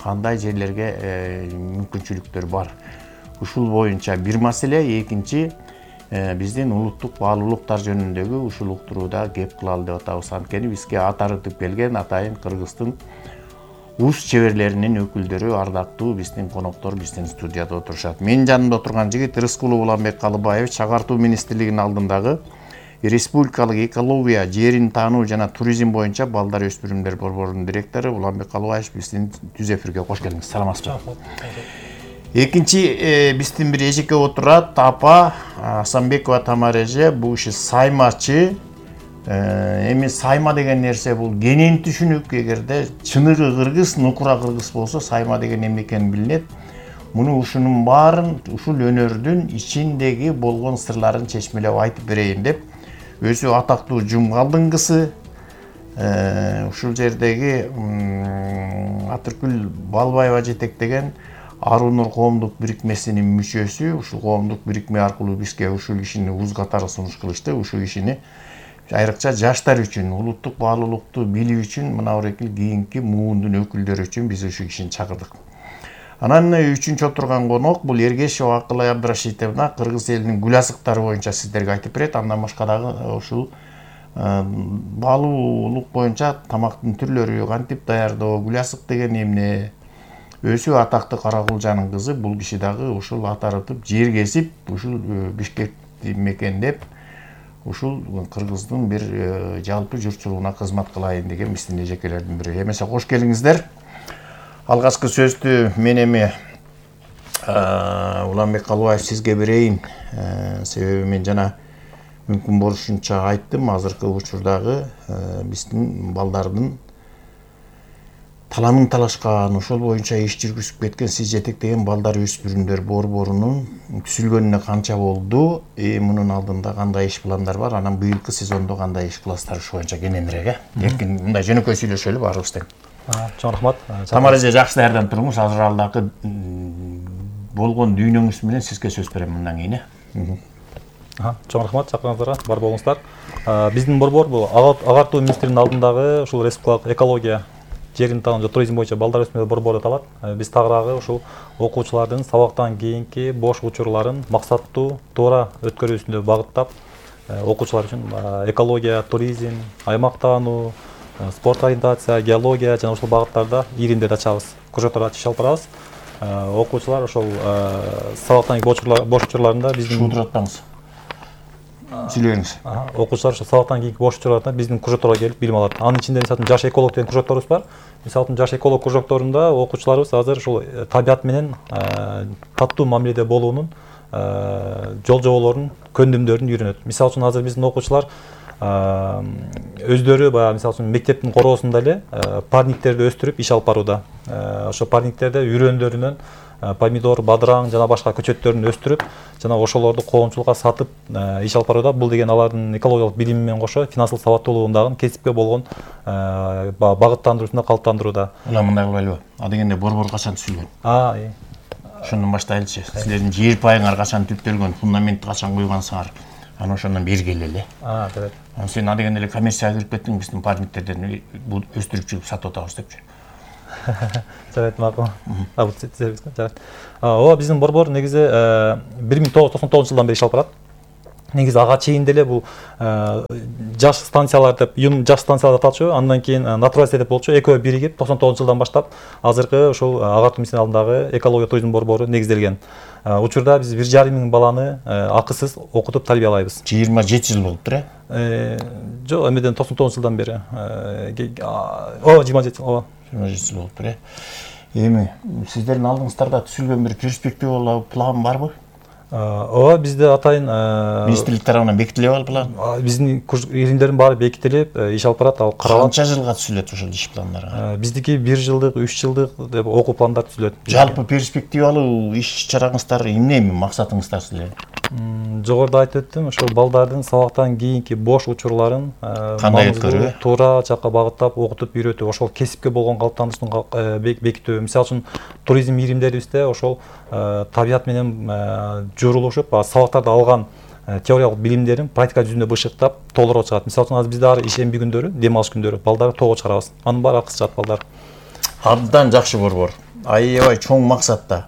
кандай жерлерге мүмкүнчүлүктөр бар. Ушул боюнча бир маселе. Экинчи биздин улуттук баалуулуктар жөнүндөгү ушул уктурууда кеп кылалы деп атабыз. Анткени бизге ат арытып келген атайын Кыргыздын уз чеберлеринин өкүлдөрү, ардактуу биздин коноктор биздин студияда отурушат. Менин жанымда отурган жигит Рыскулов Уланбек Калыбаевич, Чагартуу министрлигинин алдындагы Республикалык экология, жерин таануу жана туризм боюнча балдар өспүрүмдөр борборунун директору Уланбек Калыбаевич биздин түз эфирге кош келиңиз. Саламатсызбы? Экинчи биздин бир эжеке отурат, апа Асанбекова Тамара эже, бул киши саймачы. Эми сайма деген нерсе бул кенен түшүнүк. Эгерде чыныгы кыргыз, нукура кыргыз болсо сайма деген эмне экени билинет. Муну ушунун баарын ушул өнөрдүн ичиндеги болгон сырларын чечмелеп айтып берейин деп өзү атактуу Жумгалдын кызы, ушул жердеги Атыркүл Балбаева жетектеген Арунур коомдук бирикмесинин мүчөсү. Ушул коомдук бирикме аркылуу бизге ушул кишини уз катары сунуш кылышты. Ушул кишини айрыкча жаштар үчүн улуттук баалуулукту билүү үчүн мына орекил кийинки муундун өкүлдөрү үчүн биз ушул кишини чакырдык. Анан үчүнчү отурган конок бул Эргешева Акылай Абдрашитовна кыргыз элинин гүл азыктары боюнча сиздерге айтып берет. Андан башка дагы ушул баалуулук боюнча тамактын түрлөрү, кантип даярдоо, гүл азык деген эмне, өзү атактуу Каракулжанын кызы. Бул киши дагы ушул ат арытып жер кесип ушул Бишкекти мекендеп ушул кыргыздын бир жалпы журтчулугуна кызмат кылайын деген биздин эжекелердин бири. Эмесе кош келиңиздер. Алгачкы сөздү мен эми Уланбек Калыбаев сизге берейин. Себеби мен жана мүмкүн болушунча айттым, азыркы учурдагы биздин балдардын таланын талашкан, ошол боюнча иш жүргүзүп кеткен, сиз жетектеген балдар өспүрүмдөр борборунун түзүлгөнүнө канча болду? Мунун алдында кандай иш пландар бар? Анан быйылкы сезондо кандай иш кыласыздар ушу боюнча кененирээк, Эркин мындай жөнөкөй сүйлөшөлү баарыбыз тең. Чоң рахмат. Тамара эже жакшы даярданып туруңуз. Азыр алдагы болгон дүйнөңүз менен сизге сөз берем мындан кийин. Чоң рахмат чакырганыңыздарга, бар болуңуздар. Биздин борбор бул агартуу министринин алдындагы ушул республикалык экология, жерин таануу жана туризм боюнча балдар өсмөөр борбору аталат. Биз тагыраагы ушул окуучулардын сабактан кийинки бош учурларын максаттуу, туура өткөрүүсүндө багыттап, окуучулар үчүн экология, туризм, аймактануу, спорт ориентация, геология жана ушул багыттарда иримдерди ачабыз, кружоктор ачып алып барабыз. Окуучулар ошол сабактан кийинки бош учурларында биздин шуудуратпаңыз. Сүйлөңүз. Окуучулар ошо сабактан кийинки бош учурларда биздин кружокторго келип билим алат. Анын ичинде мисалы жаш эколог деген кружокторубуз бар. Мисалы жаш эколог кружокторунда окуучуларыбыз азыр ушул табият менен таттуу мамиледе болуунун жол жоболорун, көндүмдөрүн үйрөнөт. Мисалы үчүн азыр биздин окуучулар өздөрү баягы мисалы үчүн мектептин короосунда эле парниктерди өстүрүп иш алып барууда. Ошо парниктерде үрөндөрүнөн помидор, бадыраң жана башка көчөттөрүн өстүрүп, жана ошолорду коомчулукка сатып иш алып барууда. Бул деген алардын экологиялык билими менен кошо финансылык сабаттуулугун дагы кесипке болгон багыттандыруусунда калыптандырууда. Ула мындай кылбайлыбы? Адегенде борбор качан түзүлгөн? Ошондон баштайлычы. Силердин жер пайыңар качан түптөлгөн, фундаментти качан куйгансыңар? Анан ошондон бери келели. Жарайт. Сен адегенде эле коммерцияга кирип кеттиң, биздин парниктерден өстүрүп жүрүп сатып атабыз депчи. Жарайт, макул. Жарайт. Ооба биздин борбор негизи 1999 жылдан бери иш алып барат. Негизи ага чейин деле бул жаш станциялар деп, жаш станциялар аталчу, андан кийин натуралист деп болчу. Экөө биригип 99 жылдан баштап азыркы ошол агартуу министринин алдындагы экология туризм борбору негизделген. Учурда биз 1,5 миң баланы акысыз окутуп тарбиялайбыз. 27 жыл болуптур, Жок, эмеден 99 жылдан бери. 27 жыл, 27 жыл болуптур, Эми сиздердин алдыңыздарда түзүлгөн бир перспективалуу план барбы? Ооба, бизде атайын министрлик тарабынан бекитилип ал план. Биздин иримдердин баары бекитилип, иш алып барат, ал каралат. Канча жылга түзүлөт ошол иш пландары? Биздики 1 жылдык, 3 жылдык деп окуу пландар түзүлөт. Жалпы перспективалуу иш чараңыздар эмне, максатыңыздар силердин? Жогоруда айтып өттүм, ошол балдардын сабактан кийинки бош учурларын кандай өткөрүү, туура жакка багыттап, окутуп үйрөтүү, ошол кесипке болгон калыптануусун бекитүү. Мисалы үчүн туризм иримдерибизде ошол табият менен журулушуп, сабактарды алган теориялык билимдерин практика жүзүндө бышыктап, толтуруп чыгат. Мисалы үчүн азыр бизде ары ишемби күндөрү, дем алыш күндөрү балдарды тоого чыгарабыз. Анын баары акысыз чыгат балдар. Абдан жакшы борбор. Аябай чоң максатта.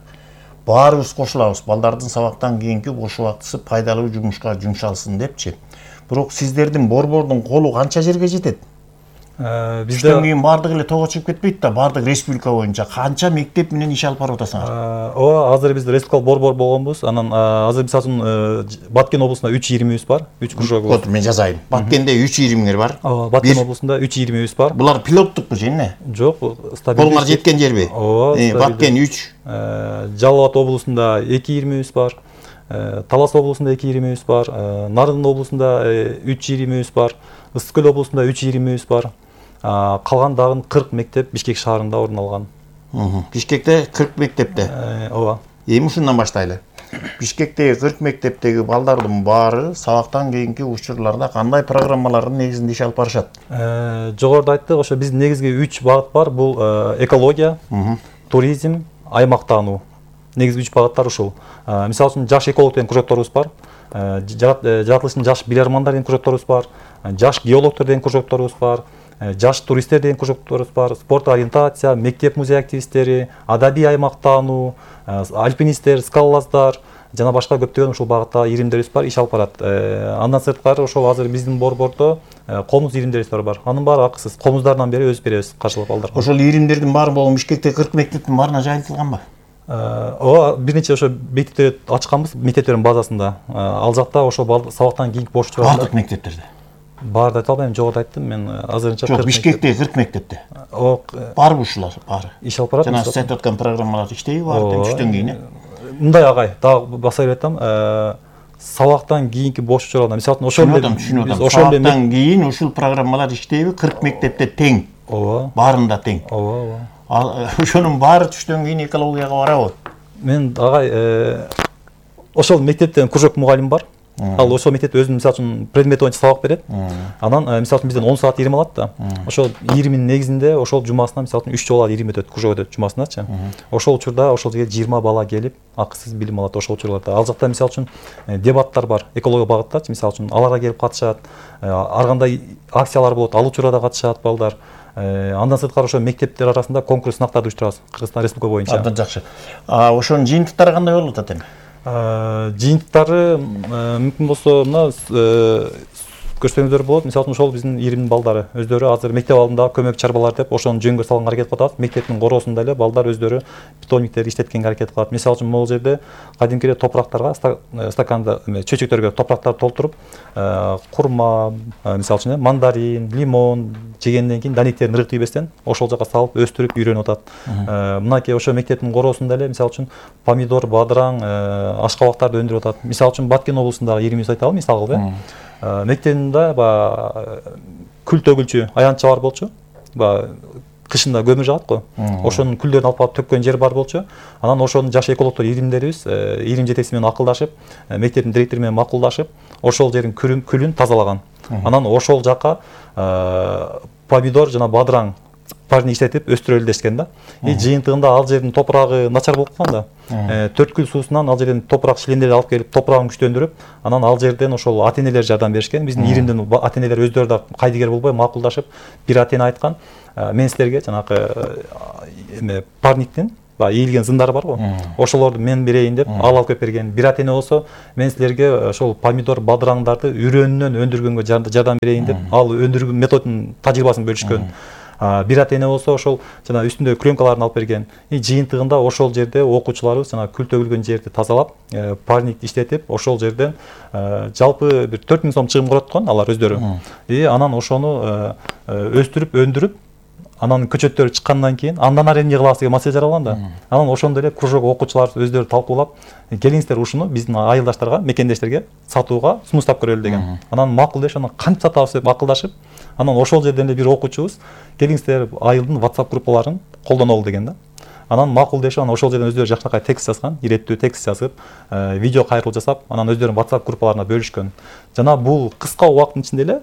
Баарыбыз кошулабыз, балдардын сабактан кийинки бош убактысы пайдалуу жумушка жумшалсын депчи. Бирок сиздердин борбордун колу канча жерге жетет? Бизден кийин баардыгы эле тоого чыгып кетпейт да, баардык республика боюнча канча мектеп менен иш алып барып атасыңар? Ооба, азыр биз республикалык борбор болгонбуз. Анан азыр мисалы үчүн Баткен облусунда 3 иримибиз бар, 3 кружогубуз. Вот мен жазайын. Баткенде 3 иримиңер бар. Ооба, Баткен облусунда 3 иримибиз бар. Булар пилоттукпу же эмне? Жок, стабилдүү. Колуңар жеткен жерби? Ооба, Баткен 3. Жалал Абад облусунда 2 иримибиз бар. Талас облусунда 2 иримибиз бар. Нарын облусунда 3 иримибиз бар. Ысык көл облусунда 3 иримибиз бар. Калган дагы 40 мектеп Бишкек шаарында орун алган. Бишкекте 40 мектепте. Ооба. Эми ушундан баштайлы. Бишкектеги 40 мектептеги балдардын баары сабактан кийинки учурларда кандай программалардын негизинде иш алып барышат? Жогоруда айттык, ошо биздин негизги 3 багыт бар. Бул экология, туризм, аймактануу. Негизги 3 багыттар ушул. Мисалы үчүн жаш эколог деген кружокторубуз бар. жаратылышын жаш билармандар деген кружокторубуз бар, жаш геологтор деген кружокторубуз бар, жаш туристтер деген кружокторубуз бар, спорт ориентация, мектеп музей активисттери, адабий аймактануу, альпинисттер, скалолаздар жана башка көптөгөн ушул багытта иримдерибиз бар, иш алып барат. Андан сырткары ошол азыр биздин борбордо комуз иримдерибиз бар. Анын баары акысыз. Комуздардан бери өзүбүз беребиз каршылап балдарга. Ошол иримдердин баары болгон Бишкектеги 40 мектептин баарына жайылтылганбы? Ооба, бир нече ошо мектептерди ачканбыз, мектептердин базасында. Ал жакта ошол сабактан кийинки бош учурларда. Бардык мектептерде. Баарды айта албайм, жогоруда айттым мен азырынча. Жок, Бишкектеги 40 мектепте. Барбы ушулар баары? Иш алып барат. Жана сиз айтып аткан программалар иштейби баары түштөн кийин? Мындай агай, дагы баса берип атам. Сабактан кийинки бош учурларда, мисалы үчүн ошол сабактан кийин ушул программалар иштейби? 40 мектепте тең. Ооба. Баарында тең. Ооба. Ошонун баары түштөн кийин экологияга барабы? Мен агай ошол мектептен кружок мугалим бар. Ал ошол мектепте өзүнүн мисалы үчүн предмет боюнча сабак берет. Анан мисалы үчүн бизден 10 саат ирим алат да. Ошол иримдин негизинде ошол жумасына мисалы үчүн 3 жолу ирим өтөт, кружок өтөт жумасыначы. Ошол учурда ошол жерге 20 бала келип акысыз билим алат ошол учурларда. Ал жакта мисалы үчүн дебаттар бар, экология багыттачы, мисалы үчүн аларга келип катышат. Ар кандай акциялар болот, ал учурда катышат балдар. Андан сырткары ошо мектептер арасында конкурс сынактарды уюштурабыз Кыргызстан Республика боюнча. Абдан жакшы. Ошонун жыйынтыктары кандай болуп атат эми? Жыйынтыктары мүмкүн болсо мына көрсөңүздөр болот. Мисалы үчүн ошол биздин иримдин балдары өздөрү азыр мектеп алдындагы көмөк чарбалар деп ошону жөнгө салганга аракет кылып атат. Мектептин короосунда эле балдар өздөрү питомниктерди иштеткенге аракет кылат. Мисалы үчүн могул жерде кадимки эле топурактарга стаканда чөйчөктөргө топурактарды толтуруп, курма, мисалы үчүн мандарин, лимон жегенден кийин данектерин ыргып тийбестен ошол жака салып өстүрүп үйрөнүп атат. Мынакей ошо мектептин короосунда эле мисалы үчүн помидор, бадыраң, ашкабактарды өндүрүп атат. Мисалы үчүн Баткен облусундагы иримибизди айталы, мисалы кылып, мектебинде күл төгүлчү аянтча бар болчу. Кышында көмүр жагат го. Ошонун күлдөрүн алып барып төккөн жер бар болчу. Анан ошонун жаш экологтор иримдерибиз ирим жетекчиси менен акылдашып, мектептин директору менен макулдашып, ошол жердин күлүн тазалаган. Анан ошол жака помидор жана бадыраң парни иштетип өстүрөлү дешкен да. Жыйынтыгында ал жердин топурагы начар болуп калган да. Төрткүл суусунан ал жерден топурак шилендерди алып келип, топурагын күчтөндүрүп, анан ал жерден ошол ата-энелер жардам беришкен. Биздин иримдин ата-энелер өздөрү да кайдыгер болбой макулдашып, бир ата-эне айткан, мен силерге жанагы парниктин ийилген зындары бар го. Ошолорду мен берейин деп алып келип берген. Бир ата-эне болсо, мен силерге ошол помидор, бадыраңдарды үрөөнүнөн өндүргөнгө жардам берейин деп ал өндүргөн методун тажрыйбасын бөлүшкөн. Бир ата-эне болсо ошол жана үстүндө пленкаларын алып берген. Жыйынтыгында ошол жерде окуучуларыбыз жана күл төгүлгөн жерди тазалап, парник иштетип, ошол жерден жалпы бир 4000 сом чыгым көрөткөн алар өздөрү. Анан ошону өстүрүп, өндүрүп, анан көчөттөрү чыккандан кийин андан ары эмне кылабыз деген маселе жаралган да. Анан ошондо эле кружок окуучулар өздөрү талкуулап, келиңиздер ушуну биздин айылдаштарга, мекендештерге сатууга сунуштап көрөлү деген. Анан макул дешип, анан кантип сатабыз деп акылдашып, анан ошол жерден эле бир окуучубуз келиңиздер айылдын WhatsApp группаларын колдонолу деген да. Анан макул дешип, анан ошол жерден өздөрү жакшынакай текст жазган, иреттүү текст жазып, видео кайрылуу жасап, анан өздөрүнүн WhatsApp группаларына бөлүшкөн. Жана бул кыска убакыттын ичинде эле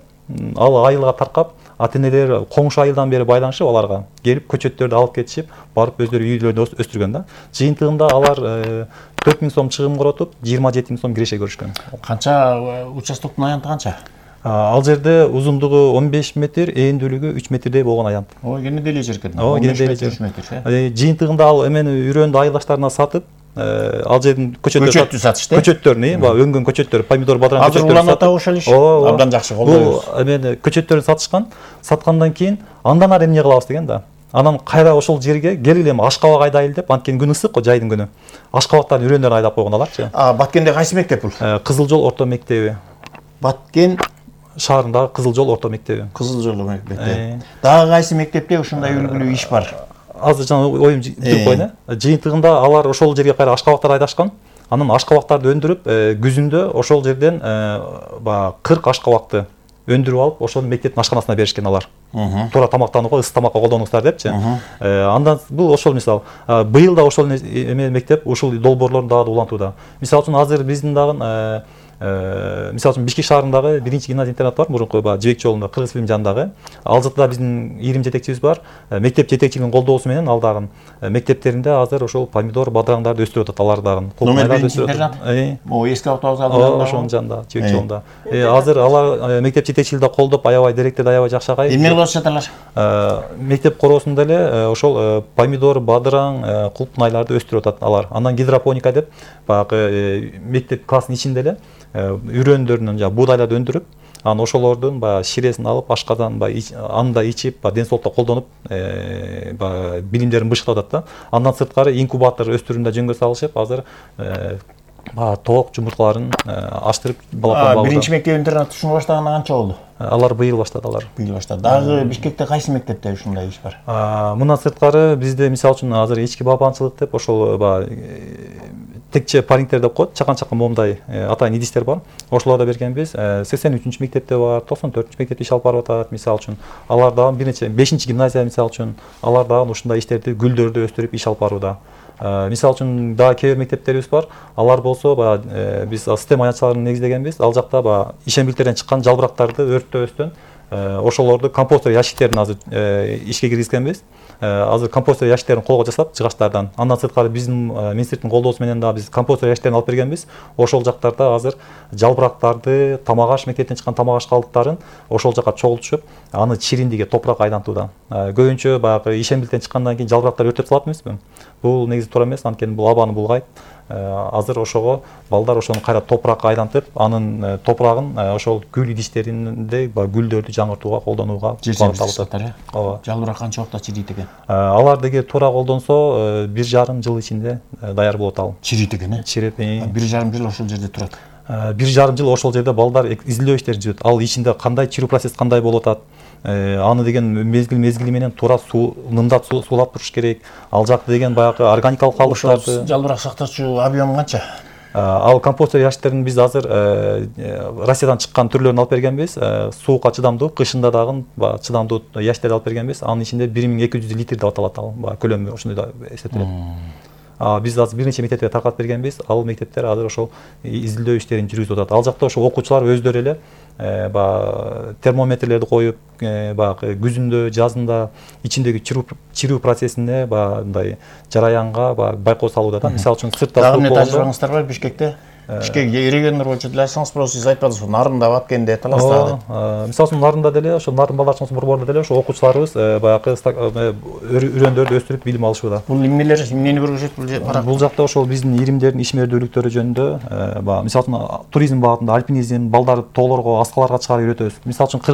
ал айылга таркап, ата-энелер коңшу айылдан бери байланышып, аларга келип көчөттөрдү алып кетишип, барып өздөрү үйлөрүндө өстүргөн да. Жыйынтыгында алар 4000 сом чыгым көрөтүп, 27 000 сом киреше көрүшкөн. Канча участоктун аянты канча? Ал жерде узундугу 15 метр, ээндүүлүгү 3 метрдей болгон аянт. Кенеде эле жер экен. 3 метр. Жыйынтыгында ал эмени үйрөндү айылдаштарына сатып, ал жердин көчөттү сатышты. Көчөттөрүн, өңгөн көчөттөр, помидор, бадыраң көчөттөрү. Азыр уланат ошол иш. Абдан жакшы колдойбуз. Бул эмени көчөттөрүн сатышкан, саткандан кийин андан ары эмне кылабыз деген да. Анан кайра ошол жерге келгиле Ашкабак айдайлы деп, анткени күн ысык го, жайдын күнү. Ашкабактардын үрөндөрүн айдап койгон аларчы. Баткенде кайсы мектеп бул? Кызыл жол орто мектеби. Баткен шаарындагы Кызыл жол орто мектеби. Кызыл жол мектеби. Дагы кайсы мектепте ушундай үлгүлүү иш бар? Азыр жана оюм жүрүп койну. Жыйынтыгында алар ошол жерге кайра Ашкабактарды айдашкан. Анан Ашкабактарды өндүрүп, күзүндө ошол жерден 40 Ашкабакты өндүрүп алып, ошол мектептин ашканасына беришкен алар. Туура тамактанууга, ысык тамакка колдонуңуздар депчи. Андан бул ошол мисал. Быйыл да ошол мектеп ушул долбоорлорун дагы улантууда. Мисалы үчүн азыр биздин дагы мисалы үчүн Бишкек шаарындагы биринчи гимназия интернат бар, мурунку Жибек жолунда Кыргыз фильм жанындагы. Ал жерде биздин ирим жетекчибиз бар. Мектеп жетекчилигинин колдоосу менен ал дагы мектептеринде азыр ошол помидор, бадыраңдарды өстүрүп атат. Алар дагы номер өстүрүп атат. Эски автобус алдында. Ошонун жанында, Жибек жолунда. Азыр алар мектеп жетекчилиги колдоп, аябай директорду аябай жакшы агай. Эмне кылып жаталар? Мектеп короосунда эле ошол помидор, бадыраң, кулпнайларды өстүрүп атат алар. Андан гидропоника деп баягы мектеп класстын ичинде эле үрөндөрүнөн буудайларды өндүрүп, анан ошолордун ширесин алып, ашказан анда ичип, ден соолукта колдонуп, билимдерин бышыктап атат да. Андан сырткары инкубатор өстүрүүндө жөнгө салышып, азыр тоок жумурткаларын аштырып балапан багуу. Биринчи мектеп интернат ушуну баштаганда канча болду? Алар быйыл баштады алар. Быйыл баштады. Дагы Бишкекте кайсы мектепте ушундай иш бар? Мындан сырткары бизде мисалы үчүн азыр ички балапанчылык деп ошол текче парингтер деп коет, чакан-чакан момундай атайын идиштер бар. Ошолорду бергенбиз. 83 мектепте бар, 94 мектепте иш алып барып атат мисалы үчүн. Алар дагы бир нече 5 гимназия мисалы үчүн алар дагы ушундай иштерди, гүлдөрдү өстүрүп иш алып барууда. Мисалы үчүн дагы кээ бир мектептерибиз бар. Алар болсо биз система аянтчыларын негиздегенбиз. Ал жакта ишембилтерден чыккан жалбырактарды өрттөбөстөн ошолорду компостер ящиктерин азыр ишке киргизгенбиз. Азыр компостер ящиктерин колго жасап жыгачтардан. Андан сырткары биздин министрликтин колдоосу менен да биз компостер ящиктерин алып бергенбиз. Ошол жактарда азыр жалбырактарды, тамак аш, мектептен чыккан тамак аш калдыктарын ошол жака чогултушуп, аны чириндиге топуракка айлантууда. Көбүнчө баягы ишембилтен чыккандан кийин жалбырактар өртөп салат эмеспи? Бул негизи туура эмес, анткени бул абаны булгайт. Азыр ошого балдар ошону кайра топуракка айлантып, анын топурагын ошол гүл идиштеринде гүлдөрдү жаңыртууга колдонууга багытталат. Ооба. Жалбырак канча убакытта чирийт экен? Алар деги туура колдонсо 1,5 жыл ичинде даяр болот ал. Чирийт экен, э? Чирет. 1,5 жыл ошол жерде турат. 1,5 жыл ошол жерде балдар изилдөө иштери жүрөт. Ал ичинде кандай чирүү процесс кандай болуп атат? Аны деген мезгили менен туура мындап суулап туруш керек. Ал жакта деген баягы органикалык калдыктарды. Жалбырак сактоочу объем канча? Ал компостер ящиктерин биз азыр Россиядан чыккан түрлөрүн алып бергенбиз. Суукка чыдамдуу, кышында дагы чыдамдуу ящиктерди алып бергенбиз. Анын ичинде 1200 литр деп аталат ал. Көлөмү ошондой да эсептелет. Биз азыр бир нече мектептерге таркатып бергенбиз. Ал мектептер азыр ошол изилдөө иштерин жүргүзүп атат. Ал жакта ошо окуучулар өздөрү эле термометрлерди коюп, баягы күзүндө, жазында ичиндеги чирүү процессине мындай жараянга байкоо салууда да. Мисалы үчүн сыртта дагы эмне тажрыйбаңыздар бар Бишкекте? Бишкек региондор боюнча деле айтсаңыз, просто сиз айтпадыңыз, Нарында, Баткенде, Таласта. Мисалы үчүн Нарында деле, ошо Нарын балдар чоңсу борборунда деле ошо окуучуларыбыз баягы үрөндөрдү өстүрүп билим алышууда. Бул эмнелер, эмнени көргөзөт бул жакта? Ошол биздин иримдердин ишмердүүлүктөрү жөнүндө, мисалы үчүн туризм багытында альпинизм, балдарды тоолорго, аскаларга чыгарып үйрөтөбүз. Мисалы үчүн